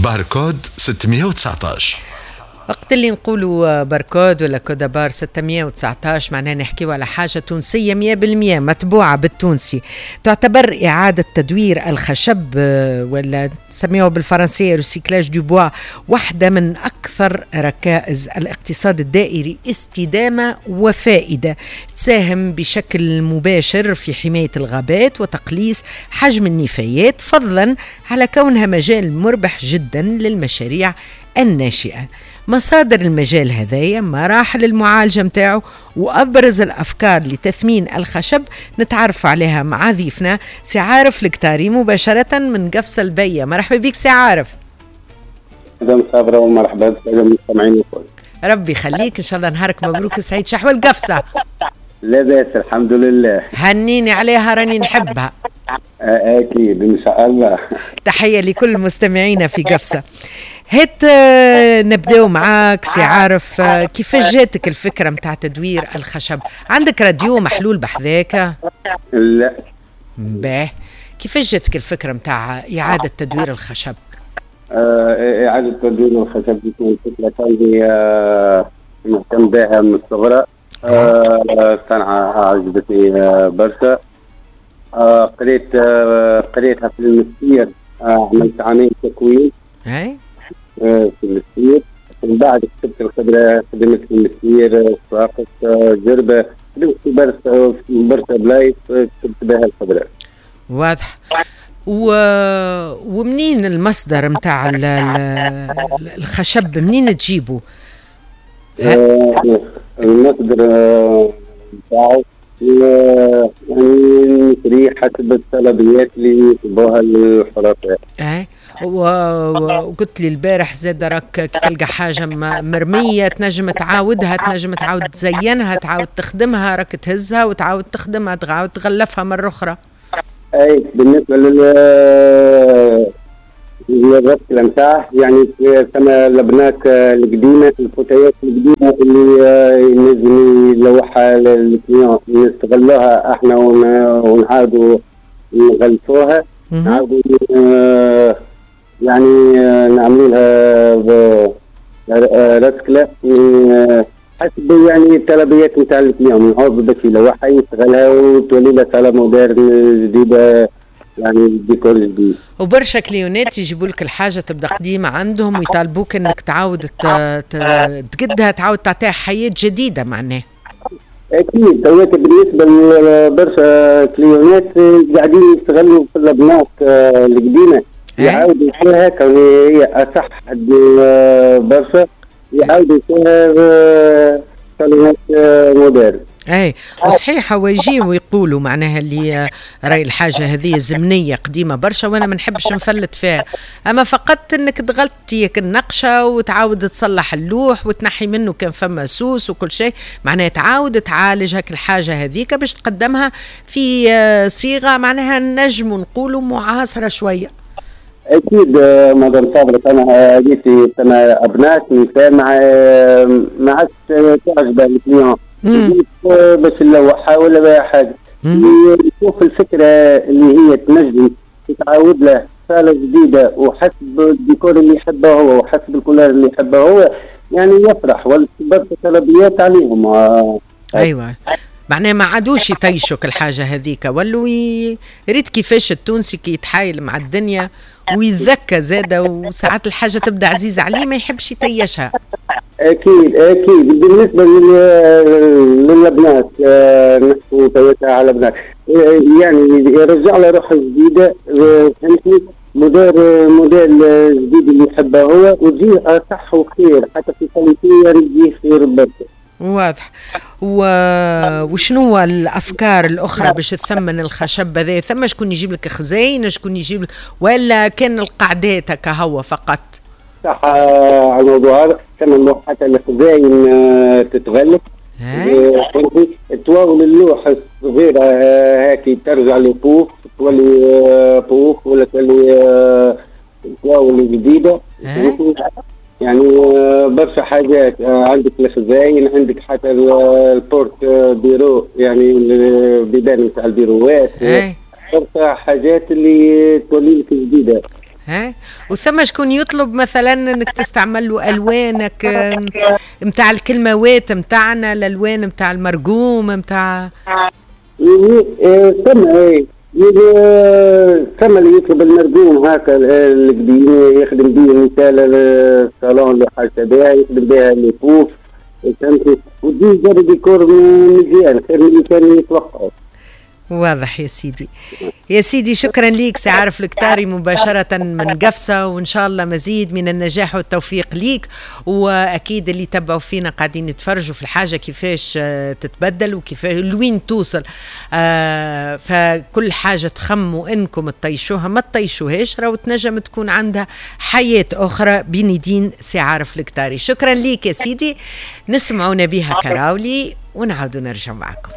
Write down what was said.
باركود 619. وقت اللي نقولوا باركود ولا code à barres 619 معناها نحكيو على حاجة تونسية 100% متبوعة بالتونسي. تعتبر إعادة تدوير الخشب ولا تسميوه بالفرنسية recyclage du bois واحدة من أكثر ركائز الاقتصاد الدائري استدامة وفائدة، تساهم بشكل مباشر في حماية الغابات وتقليص حجم النفايات، فضلا على كونها مجال مربح جدا للمشاريع الناشئة. مصادر المجال هذايا، مراحل المعالجة متاعه، وأبرز الأفكار لتثمين الخشب نتعرف عليها مع ضيفنا سي عارف القطاري مباشرة من قفصة البية. مرحبا بك سي عارف. مدام صابرة ومرحبا بالسادة المستمعين الكل. ربي يخليك، إن شاء الله نهارك مبروك سعيد. شحوال قفصة؟ لاباس الحمد لله. هنيني عليها، راني نحبها. أكيد إن شاء الله. تحية لكل مستمعينا في قفصة. هات نبداو معاك سي عارف، كيفاش جاتك الفكرة متاع تدوير الخشب؟ عندك راديو محلول بحذاك؟ لا. باه، كيفاش جاتك الفكرة متاع إعادة تدوير الخشب؟ إعادة تدوير الخشب دي فكرة كان مهتم بها من الصغرى. صنعة عجبتني برشا. قريتها في المستير، عملت عامين تكوين في المستير، من بعد كتبت الخبرة، خدمت في المستير، صفاقس، جربة، خدمت في برشا بلايص، كتبت بها الخبرة. واضح. ومنين المصدر متاع الخشب، منين تجيبه؟ المصدر نتاعو يعني نشريه حسب الطلبيات اللي يطلبوها الحرفاء. وقلت لي البارح زاد راك كي تلقى حاجة مرمية تنجم تعاودها، تنجم تعاود تزينها، تعاود تخدمها، راك تهزها وتعاود تخدمها، تعاود تغلفها مرة أخرى. أي بالنسبة للرسكلة نتاعه، يعني ثم الأبناك القديمة، الفوتيات القديمة اللي ينجم يلوحها لل client، نستغلوها احنا ونعاودوا نغلفوها، نعاودوا يعني نعملوا لها رسكلة حسب يعني الطلبيات نتاع ال client، نعوض باش يلوحها يستغلها وتولي لها صالة moderne جديدة، يعني ديكور جديد. وبرشا كليونات يجيبوا لك الحاجة تبدا قديمة عندهم ويطالبوك انك تعاود تقدها، تعاود تعطيها حياة جديدة معناها. اكيد توات بالنسبة لبرشا كليونات قاعدين يستغلوا في الابناك القديمة، يعاودوا فيها كون هي اصح برشا، يعاودوا فيها صالونات moderne. اي وصحيح، هو يجيو ويقولوا معناها اللي راي الحاجة هذه زمنية قديمة برشا وانا ما نحبش نفلت فيها، اما فقط انك تغلطي النقشه وتعاود تصلح اللوح وتنحي منه كان فما سوس وكل شيء، معناها تعاود تعالج هاك الحاجة هذيك باش تقدمها في صيغة معناها نجم نقولوا معاصره شوية. اكيد مدام صابرة، انا هذيك انا ابناك نساء ما عادش تعجبها ال client باش نلوحها ولا حاجة، يشوف الفكرة اللي هي تنجم تتعاود له صاله جديدة وحسب الديكور اللي يحبه هو وحسب ال couleur اللي يحبه هو، يعني يفرح وبرشا طلبيات عليهم. ايوه معناها ما عادوش يطيشوا الحاجة هذيك، ولوا ريت كيفاش التونسي كي يتحايل مع الدنيا ويتذكى زاده، وساعات الحاجة تبدا عزيزه عليه ما يحبش يطيشها. اكيد اكيد. بالنسبة للبنات، نحكوا توتا على البنات، يعني يرجع له روح جديدة، فهمتني، موديل جديد اللي يحبه هو، وتجيه اصح وخير حتى في qualité، يعني تجيه خير برشا. واضح. وشنو الافكار الاخرى باش تثمن الخشب هذا؟ ثم شكون يجيب لك خزين، شكون يجيب لك، ولا كان القعدات هكا هو فقط؟ صح على الموضوع هذا، ثم حتى الخزاين تتغلف، تواول اللوح الصغيرة هاكي ترجع لبوف، تولي بوف ولا تولي تواول جديدة. يعني برشا حاجات عندك الخزاين، عندك حتى ال porte-bureau، يعني البيبان نتاع البيروات، برشا حاجات اللي تولي لك جديدة. ها، وثم شكون يطلب مثلا انك تستعمل له الوانك نتاع الكلموات نتاعنا، الالوان نتاع المرقوم نتاع ثم ايه ثم اللي يطلب المرقوم هكا القديم، يخدم به مثال الصالون اللي حاجة بها، يخدم بها les poufs، فهمتي؟ وتجي زاد ديكور مزيان خير من اللي كان يتوقعوا. واضح يا سيدي، يا سيدي شكرا ليك سي عارف الكتاري مباشرة من قفصة، وإن شاء الله مزيد من النجاح والتوفيق ليك. وأكيد اللي تبعوا فينا قاعدين يتفرجوا في الحاجة كيفاش تتبدل وكيفاش لوين توصل. فكل حاجة تخموا إنكم تطيشوها ما تطيشوهاش، راهو تنجم تكون عندها حياة أخرى بين يدين سي عارف الكتاري. شكرا ليك يا سيدي. نسمعوا نبيها كراولي ونعاودوا نرجع معكم.